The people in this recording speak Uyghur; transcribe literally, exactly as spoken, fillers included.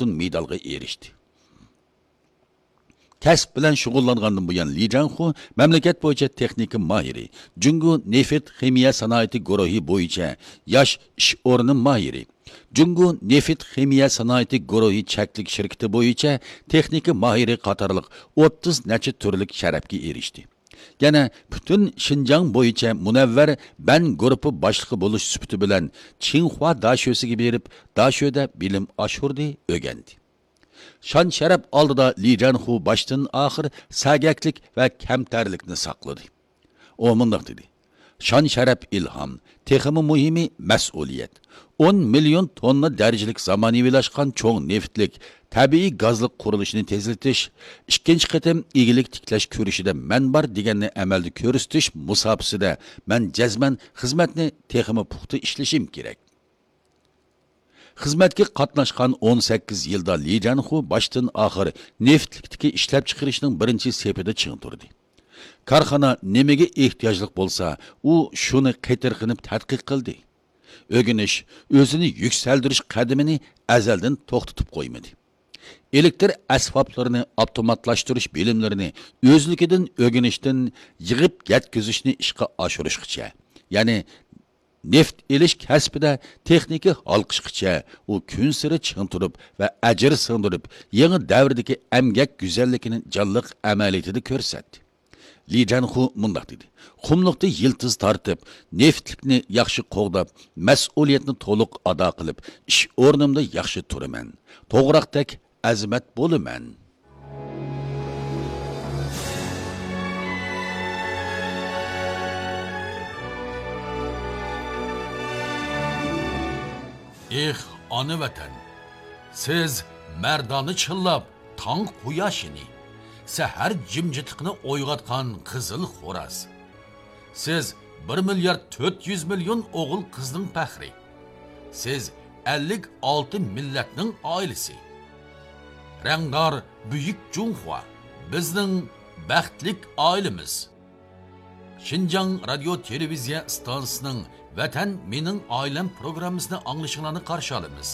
ئالتۇن مېدالغا ئېرىشتى. كەسىپ بىلەن شۇغۇللانغاندىن بۇيان، لى جاڭخۇ مەملىكەت بويىچە تېخنىكا ماھىرى، جۇڭگو نېفىت خىمىيە سانائىتى گۇرۇھى بويىچە ياش ئىش ئورنى ماھىرى، جۇڭگو نېفىت خىمىيە سانائىتى گۇرۇھى چەكلىك شىركىتى بويىچە تېخنىكا ماھىرى قاتارلىق ئوتتۇز نەچچە تۈرلۈك شەرەپكە ئېرىشتى. يەنە پۈتۈن شىنجاڭ بويىچە مۇنەۋۋەر بەن گۇرۇپپا باشلىقى بولۇش سۈپىتى بىلەن چىڭخۇا داشۆسىگە بېرىپ، داشۆدە بىلىم ئاشۇردى، ئۆگەندى. شان-شەرەپ ئالدىدا لى جانخۇ باشتىن-ئاخىر سەگەكلىك ۋە كەمتەرلىكنى ساقلىدى. ئۇ مۇنداق دېدى: «شان-شەرەپ ئىلھام، تېخىمۇ مۇھىمى مەسئۇلىيەت. ئون مىليون توننا دەرىجىلىك زامانىۋىلاشقان چوڭ نېفىتلىك تەبىئىي گازلىق قۇرۇلۇشنى تېزلىتىش، ئىككىنچى قېتىم ئىگىلىك تىكلەش كۈرىشىدە مەن بار دېگەننى ئەمەلدە كۆرسىتىش مۇساپىسىدە مەن جەزمەن خىزمەتنى تېخىمۇ پۇختا ئىشلىشىم كېرەك.» خىزمەتكە قاتناشقان ئون سەككىز يىلدا لى جانخۇ باشتىن-ئاخىر نېفىتلىكتىكى ئىشلەپچىقىرىشنىڭ بىرىنچى سېپىدە چىڭ تۇردى. كارخانا نېمىگە ئېھتىياجلىق بولسا، ئۇ شۇنى قېتىرقىنىپ تەتقىق قىلدى. ئۆگىنىش، ئۆزىنى يۈكسەلدۈرۈش قەدىمىنى ئەزەلدىن توختىتىپ قويمىدى. ئېلېكتر ئەسۋابلىرىنى ئاپتوماتلاشتۇرۇش بىلىملىرىنى ئۆزلۈكىدىن ئۆگىنىشتىن يىغىپ يەتكۈزۈشنى ئىشقا ئاشۇرۇشقىچە، يەنى نېفىت ئېلىش كەسپىدە تېخنىكا ھالقىشقىچە ئۇ كۈنسېرى چىڭ تۇرۇپ ۋە ئەجىر سىڭدۈرۈپ، يېڭى دەۋردىكى ئەمگەك گۈزەللىكىنى جانلىق ئەمەلىيىتىدە كۆرسەتتى. لى جانخۇ مۇنداق دېدى: «قۇملۇقتا يىلتىز تارتىپ، نېفىتلىكنى ياخشى قوغداپ، مەسئۇلىيەتنى تولۇق ئادا قىلىپ، ئىش ئورنۇمدا ياخشى تۇرىمەن. توغراقتەك ئەزىمەت بولىمەن.» ئېھ، ئانا ۋەتەن! سىز مەردانە چىللاپ تاڭ قۇياشىنى، سەھەر جىمجىتلىقىنى ئويغاتقان قىزىل خوراز. سىز بىر مىليارد تۆت يۈز مىليون ئوغۇل قىزنىڭ پەخرى. سىز ئەللىك ئالتە مىللەتنىڭ ئائىلىسى. رەڭدار بۈيۈك جۇڭخۇا، بىزنىڭ بەختلىك ئائىلىمىز. شىنجاڭ رادىيو تېلېۋىزىيە ئىستانسىسىنىڭ ۋەتەن مېنىڭ ئائىلەم پروگراممىسىنى ئاڭلىشىڭلارنى قارشى ئالىمىز.